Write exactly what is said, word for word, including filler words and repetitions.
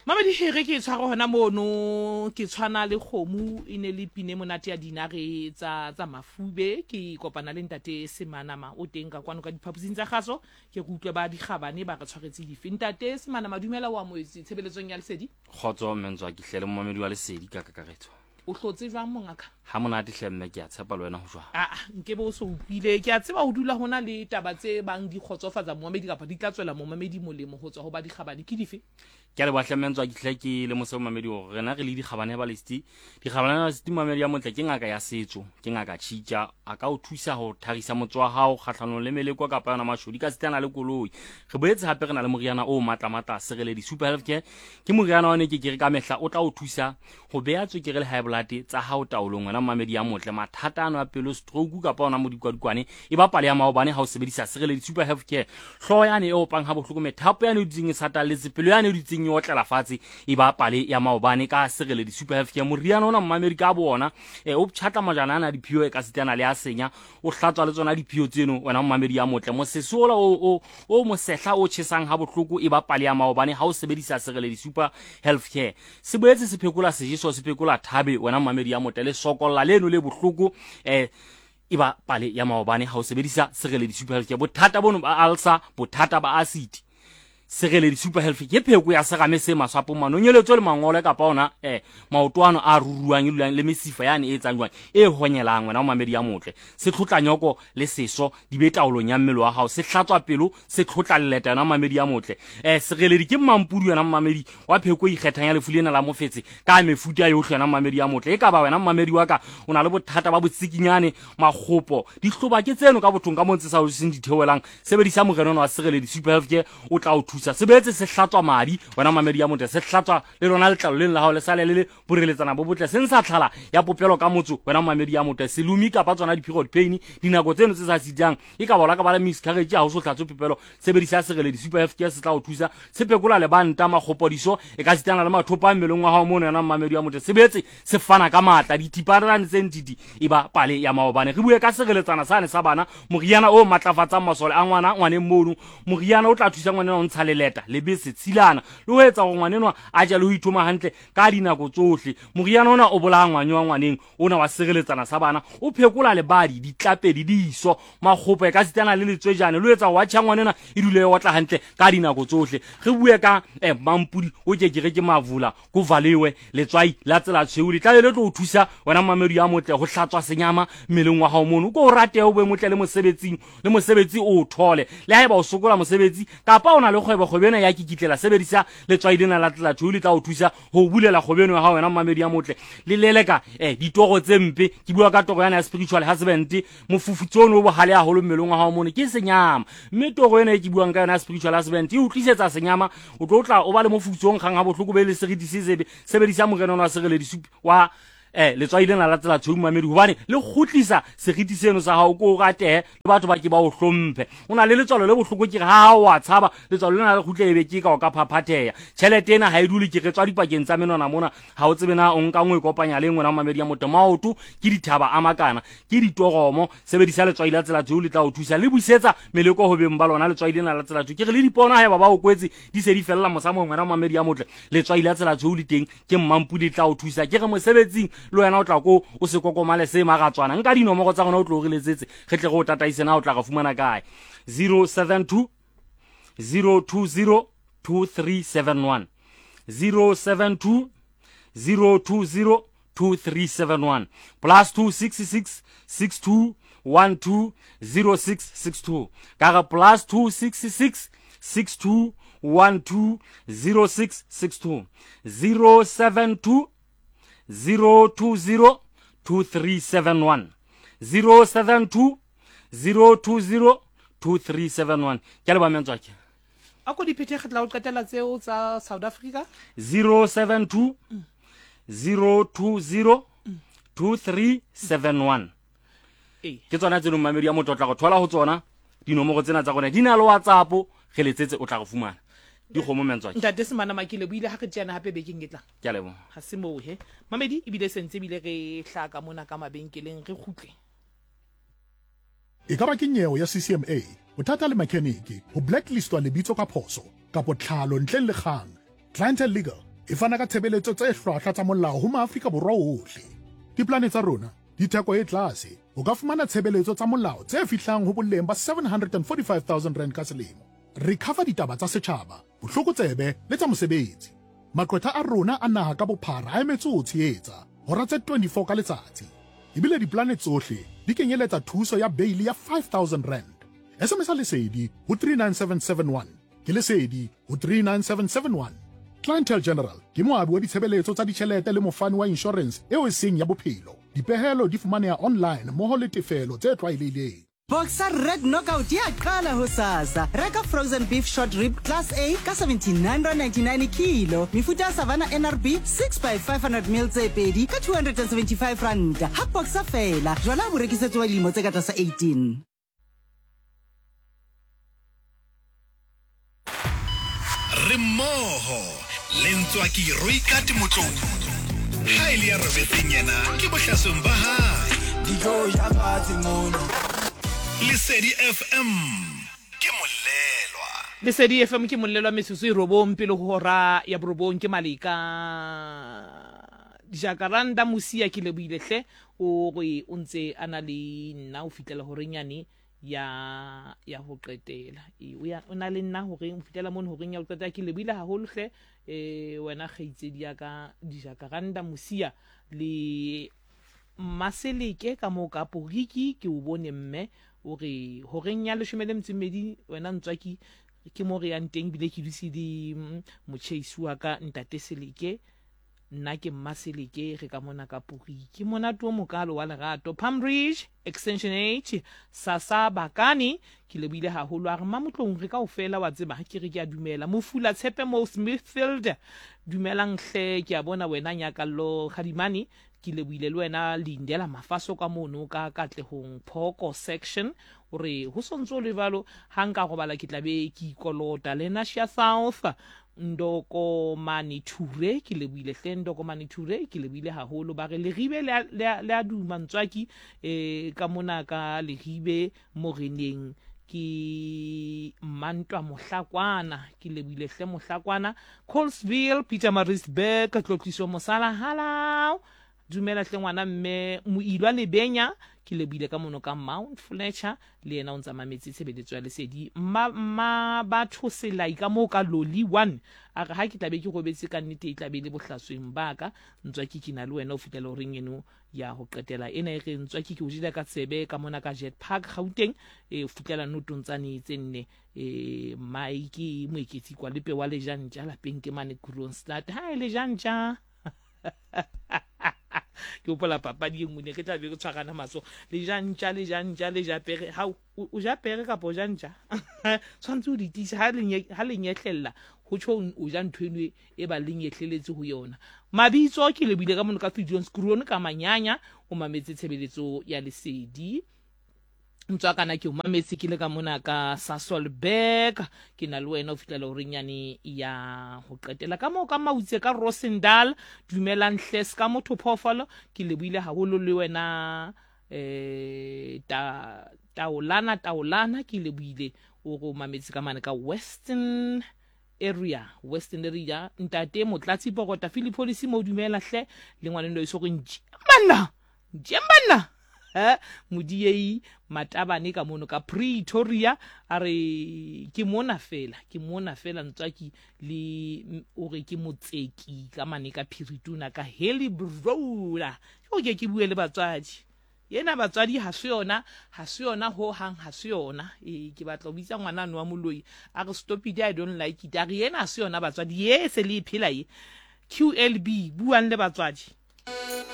Mamedi here ke tshware hona mono, ke tshwana le kgomo e ne le pine monate ya dinare tsa tsa mafube. Ke kopana le ntate Semanama o teng ka kwano ka diphaposing tsa kgaso, ke re utlwe ba dikgabane ba re tshwaretse dife. Ntate Semanama, dumela, o amohetse tshebeletsong ya Lesedi. Kgotso mme ke hle le momamedi wa Lesedi ka kakaretso. O hlotse jwang mongaka? Ha monate hle mme, ke a tshepa le wena ho jwang. Aa, nke be o so utlwile. Ke a tseba ho dula hona le taba tse bang di kgotsofatsa momamedi kapa di tla tswela momamedi molemo ho tswa ho ba dikgabane, ke dife? Ke a leboha hle mme ke hle ke le mose momamedi hore rena re le dikgabane ba Lesedi. Dikgabane ba Lesedi, momamedi ya motle, ke ngaka ya setso, ke ngaka tjhitja, a ka o thusa ho tharisa motso wa hao kgahlanong le meleko kapa yona mashodi ka sitana le koloi. Re boetse hape re na le moriana o matla matla, Sereledi Super Health Care. Ke moriana wa ne ke ke re ka mehla o tla o thusa ho beha tswekere le high blood tsa hao taolong, wena momamedi ya motle. Mathata ano a pelo, stroke kapa ona modikwadikwane e ba pale ya maobane ha o sebedisa Sereledi Super Health Care. Hlooho yane e opang ha bohloko, methapo yane e dutseng e satalletse, pelo yane e dutseng e otlela fatshe e ba pale ya maobane ka Sereledi Super Health Care. Moriana ona, momamedi, ka bo ona e o ptjhatla majana ana a diphio e ka sitana le a senya, o hlatswa le tsona diphio tseno, wena momamedi ya motle. Mosese ola o o o mosehla o tjhesang ha bohloko e ba pale ya maobane ha o sebedisa Sereledi Super Health Care. Se boetse se phekola sejeso, se phekola thabe, wena momamedi ya motle, le sokolla leno le bohloko eh e ba pale ya maobane ha o sebedisa Sereledi Super Health Care. Bothata bono ba ulcer, bothata ba acid, Sereledi Super Health ke pheko ya serame se maswapong, manonyeletso le mangole kapa ona eh maoto ano a ruruang e dulang le mesifa yane e etsang jwang e honyelang, wena momamedi ya motle. Se tlhotla nyoko le seso di be taolong ya mmele wa hao, se hlatswa pelo, se tlhotla leleta, yona momamedi ya motle. eh Sereledi ke mampudi, wena momamedi, wa pheko e ikgethang ya lefu lena la mofetse ka mefuta yohle, wena momamedi ya motle. E ka ba wena momamedi wa ka o na le bothata ba botsikinyane, makgopo, dihloba ke tseno ka bothong ka mo ntse sa o seng ditheohelang, sebedisa moriana wa Sereledi Super Health Care, o tla o thusa. Se boetse se hlatswa madi, wena mamedi ya motle, se hlatswa le lona letlalo leng la hao le sale le le boreletsana bo botle, se ntsha tlhala ya popelo ka motso, wena mamedi ya motle. Selumi kapa tsona di-period pain, dinako tseno tse sa sitang, e ka bola ka ba le miscarriage ha o so hlatswe popelo, sebedisa Sereledi Super Health Care, se tla o thusa. Se phekola lebanta, makgopodiso e ka sitana le mathopo a mmeleng wa hao mono, yona mamedi ya motle. Se boetse se fana ka matla, dithiparane tse ntiti e ba pale ya maobane. Re bue ka sereletsana sane sa bana, moriana o matlafatsang masole a ngwana ngwaneng mono, moriana o tla thusa ngwanenwa o ntsha leleta, lebese, tshilana le ho etsa hore ngwanenwa a je le ho ithoma hantle ka dinako tsohle. Moriana ona o bolaya ngwanyo wa ngwaneng ona wa sireletsana sa bana, o phekola lebadi, ditlapedi, diso, makgopo e ka sitana le letswejane le ho etsa hore watjha ngwanena e dule e otla hantle ka dinako tsohle. Re bue ka eh, mampudi o ke ke re ke mavula ko valewe, letswai la tsela tshweu le tlabe le tlo o thusa, wena mamedi ya motle, ho hlatswa senyama mmeleng wa hao mono, o ko o ratehe, o be motle le mosebetsing, le mosebetsi o o thole. Le haeba o sokola mosebetsi kapa o na le kgwebo, kgwebo ena ya kikitlela, sebedisa letswai lena la tsela tshweu, le tla o thusa ho bulela kgwebo eno ya hao, wena mamedi ya motle. Le leleka eh, ditoro tse mpe, ke bua ka toro yana ya spiritual husband, mofufutso ono o bohale haholo mmeleng wa hao mono ke senyama, mme toro ena e ke buang ka yona ya spiritual husband e o tlisetsa senyama, o tlo tla o ba le mofufutso o nkgang ha bohloko, be le seriti se sebe. Sebedisa moriana ona wa Sereledi wa eh letswai lena la tsela tshweu, mamedi, hobane le kgutlisa seriti seno sa hao, ko o ratehe le batho ba ke ba o hlomphe. O na le letswalo le bohloko, ke re ha o a tshaba letswalo lena le kgutle, ebe ke ka o ka phaphatheha, tjhelete ena ha e dule, ke re tswa dipakeng tsa menwana mona, ha o tsebe na o nka nngwe e kopanya le engwe, na mamedi ya motho. Maoto ke dithaba a makana, ke ditoromo, sebedisa letswai la tsela tshweu, le tla o thusa, le busetsa meleko ho beng ba lona letswai lena la tsela tshweu. Ke re le dipono haeba ba o kwetse di se di fella mosamong, wena mamedi ya motle, letswai la tsela tshweu le teng, ke mmampudi, le tla o thusa. Ke re mosebetsing le wena o tla ko o se kokomale se maratswana. Nka dinomoro tsa rona o tlo re letsetse, re tle re o tataise na o tla re fumana kae. Zero seven two zero two zero two three seven one, zero seven two zero two zero two three seven one, plus two six six six two one two zero six six two. Ka re plus two six six six two one two zero six six two, zero seven two zero two zero two three seven one, zero seven two zero two zero two three seven one. Ke a leboha, mentswake. A ko di phethe kgetla ho qetela tseo tsa South Africa. Zero seven two zero two zero two three seven one. Ee. Ke tsona tse leng, mamedi ya motho, o tla go thola ho tsona dinomoro tsena tsa rona, di na le WhatsApp, re letsetse o tla re fumana dikgomo, mentswake. Ntate Semana Makile boile ha re tjeana hape bekeng e tlang. Ke a leboha. Ha se moo he, mamedi, ebile sentse ebile re hlaka mona ka mabenkeleng, re kgutle. E ka ba ke nyewe ya C C M A, bothata le mechanic, ho blacklistwa lebitso ka phoso, kapo tlhalo ntleng le kgang, Clientele Legal E fana ka tshebeletso tse hlwahlwa tsa molao ho maAfrika Borwa ohle. Diplane tsa rona di theko e tlase. O ka fumana tshebeletso tsa molao tse fihlang ho boleng ba seven hundred and forty-five thousand rand ka selemo. Re cover ditaba tsa setjhaba, bohlokotsebe le tsa mosebetsi. Maqwetha a rona a naha ka bophara a emetse ho tshehetsa hora tse twenty-four ka letsatsi. Ebile diplane tsohle di kenyeletsa thuso ya bail ya five thousand rand. S M S Lesedi ho three nine seven seven one. Ke Lesedi ho three nine seven seven one. Clientele General ke moabi wa ditshebeletso tsa ditjhelete le mofani wa insurance eo e seng ya bophelo. Dipehelo di fumaneha online mmoho le tefelo tse tlwaelehileng. Boxer Red Knockout ya qala hosasa. Reka frozen beef short rib class A ka seventy-nine rand ninety-nine kilo. Mefuta ya Savannah N R B six by five hundred mil tse pedi ka two hundred and seventy-five rand. Ha Boxer fela, jwala bo rekisetswa dilemo tse ka tlasa eighteen. Re mmoho le Ntswaki Roikate Motlou. Ha e le ya robetseng yena ke bohlasong ba hae. Dijo ja fatshe mono. Lesedi F M ke molelwa. Lesedi F M ke molelwa metsotso e robong pele ho hora ya borobong ke Maleka. Jacaranda Mosia ke lebohile hle o re o ntse a na le nna o fitlela horeng yane ya ya ho qetela. E o ya o na le nna horeng o fitlela mono horeng ya ho qetela ke lebohile haholo hle eh wena kgaitsedi ya ka Jacaranda Mosia le Maseleke ka mo ka Poriki ke o bone mme o re horeng ya leshome le metso e mmedi wena Ntswaki ke mo re yang teng bile ke dutse le motjheisi wa ka ntate Seleke nna ke Mmaseleke re ka mona ka Poriki monate o mokalo wa lerato Palm Ridge Extension H Sasa Bakani ke lebohile haholo a re Mamotlong re kaofela wa tseba ha ke re ke a dumela Mofula Tshepe mo Smithfield dumelang hle ke a bona wena Nyakallo Kgadimane ke lebohile le wena Lindela Mafaso ka mono ka Katlehong Phoko section o re ho sontso le jwalo ha nka robala ke tla be ke ikolota le Nasia South Ndokomane Ture ke lebohile hle Ndokomane Ture ke lebohile haholo ba re Leribe le le a duma Ntswaki eh ka mona ka Leribe moreneng ke Mantwa Mohlakwana ke lebohile hle Mohlakwana Colesville Peter Maritzburg Tlotliso Mosala halao dumela hle ngwana mme Moilwa Lebenya ke lebohile ka mono ka Mount Fletcher le yena o ntsa mametse tshebeletso ya Lesedi mma mma batho selai ka mo ka Loli one a re ha ke tlabe ke robetse ka nnete e tlabe le bohlasweng ba ka Ntswaki ke na le wena o fitlela horeng eno ya ho qetela ena e re Ntswaki ke o jela ka tsebe ka mona ka Jet Park Gauteng e fitlela notong tsane tse nne e Mike Moeketsi kwa lepe wa lejantja lapeng ke mane Kroonstad ha e lejantja ke hopola papadi e nngwe ne re tla be re tshwarana matsoho le ja ntja le ja ntja le ja pere ha o ja pere kapa o ja ntja tshwanetse o di tiise ha le nyehlella ho tjho o ja ntho eno e ba le nyehleletse ho yona. Mabitso ke lebile ka mono ka Fidion Scrone ka Manyanya o mametse tshebeletso ya Lesedi Ntswakana ke o mametse ke le ka mona ka Sasolburg ke na le wena o fihlela horeng yane ya ho qetela ka moo ka Mautse ka Rosendal dumelang hle ska motho phoofolo ke lebohile haholo le wena eh ta taolana taolana ke lebohile o go mametse ka mane ka Western area Western area ntate Motlatsi Pokota Philip Policy mo dumela hle le ngwane ndo iso go njemana njemana eh Modiei Matabane ka mono ka Pretoria a re ke mona fela ke mona fela Ntswaki le o re ke motseki ka mane ka Phirituna ka Helibrola o ke ke bue le batswadi yena batswadi ha se yona ha se yona ho hang ha se yona e ke batla ho bitsa ngwana no wa moloi a re stop it I don't like it a re yena ha se yona batswadi ye se le phela ye Q L B buang le batswadi.